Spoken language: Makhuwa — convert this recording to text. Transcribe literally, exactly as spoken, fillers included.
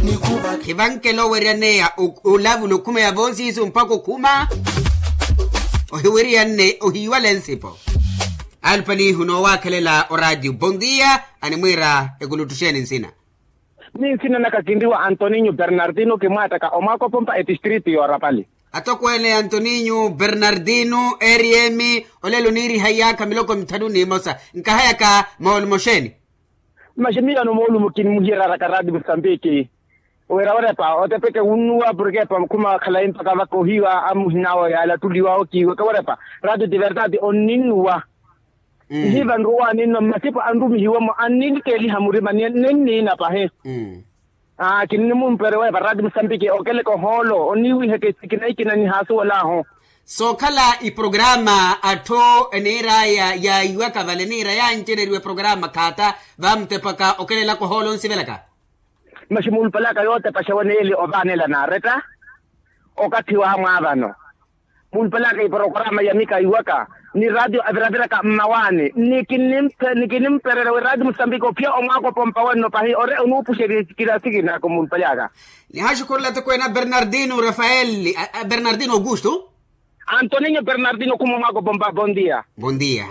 Khivankela oweryaneya olavula okhuma ya voosiisu mpakha okhuma. Ohiweriyanne ohiiwale nsipo. Alupalihu noowaakhelela oraatiyo bondia animwiira ekuluttuxeni nsina. Ni nsina naka kinriwa antoninho bernardino kimwaattaka omwaakopompa etistritu yoorapali. Atokweene antoninho bernardino eriyemi. Olelo niiriha iyaakha miloko mitthatu n'imosa. Nkahayaka moolumo xeeni? Maximiliano moolumo kinmuhiyeraraka raati musambiki. Wira werepa otepeke wunnuwa porke epa khuma khalayi mpaka vaka ohiiwa amuhinawo yaala ttuliwa okiiweke werepa. Raati ti verdade onninnuwa. Ihiiva nruwa ninno mmasipo anrumihiwemo anninlikeeliha murima ninniina pahi. Kinnimumperewa epa raati musambiki okeleke ohoolo onniiwiheke sikina ikina nihaasuwel'ahu. Sookhala iprograma atthu eniir'aya yaayiwaka vale niira yancereriwa eprograma khaata. Vamutepaka okelelaka ohoolo onsivelaka. Maxi muulupalaka yootepa xeweneeli ovaanela naaretta. Okathi wamwaavano muulupalaka iprograma ya mika iwaka ni ratio aviraviraka mmawaani. Nikinnimpererya wi ratio musambiki ophiya omwaakopompa wenno pahi ore onuupuxerya sikina sikina ako muulupalaka. Nihaxukhurela atokweene a bernardino rafael. Bernardino augusto. Antoninho bernardino khuma omwaakopompa bondia. Bondia.